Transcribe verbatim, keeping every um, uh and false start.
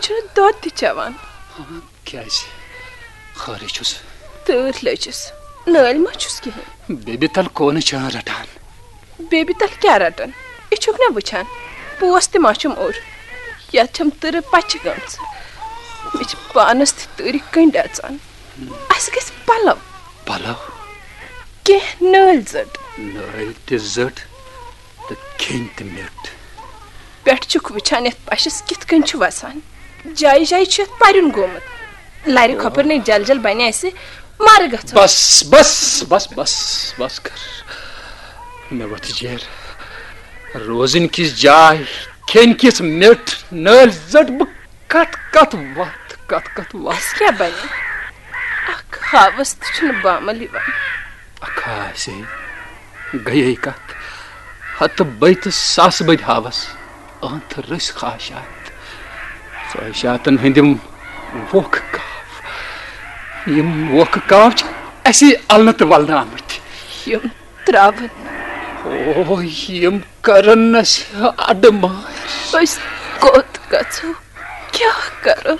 چھُنہٕ دۄد تہِ چٮ۪وان۔ کیٛازِ؟ خٲرٕے چھُس۔ تۭر لٔجِس۔ نٲلۍ ما چھُس کِہیٖنۍ؟ بیبی تل کونہٕ چھان رٹان۔ بیبی تل کیٛاہ رٹان؟ یہِ چھُکھ نہ وٕچھان؟ پوس تہِ ما چھُم اوٚر؟ یتھ چھم تۭرٕ پچہِ گٔمژٕ۔ مےٚ چھِ پانس تہِ تۭرِ کنڈۍ اژان۔ اسہِ گژھِ پلو۔ پلو؟ کینٛہہ نٲلۍ زٔٹ۔ نٲلۍ تہِ زٔٹ تہٕ کھیٚنۍ تہِ میٚٹھ۔ پٮ۪ٹھ چھُکھ وٕچھان یتھ پشس کِتھ کٔنۍ چھُ وسان۔ جایہِ جایہِ چھُ یتھ پرُن گوٚمُت۔ لرِ کھۄپرنٕے جل جل بنہِ اسہِ مارٕ گژھُن۔ بس، بس، بس، بس، بس کر۔ مےٚ وۄتھِ جیر۔ روزٕنۍ کِژھ جاے، کھیٚنۍ کِژھ میٚٹھ، نٲلۍ زٔٹ، بہٕ کتھ کتھ وتھ، کتھ کتھ وتھ۔ اسہِ کیٛاہ بنہِ؟ اکھ ہاوس تہِ چھُنہٕ بامل یِوان۔ اکھ آسے گٔیے کتھ، ہتہٕ بٔدۍ تہٕ ساسہٕ بٔدۍ ہاوس۔ أنتھ رٔسۍ خواہشات، خواہشاتن ہٕنٛدۍ یِم ووکھٕ کاو، یِم ووکھٕ کاو چھِ اَسی النہٕ تہٕ ولنہٕ آمٕتۍ۔ یِم ترٛاوَن۔ او، یِم کرن اَسہِ اَڈٕ مار۔ أسۍ کوٚت گژھو؟ کیٛاہ کرو؟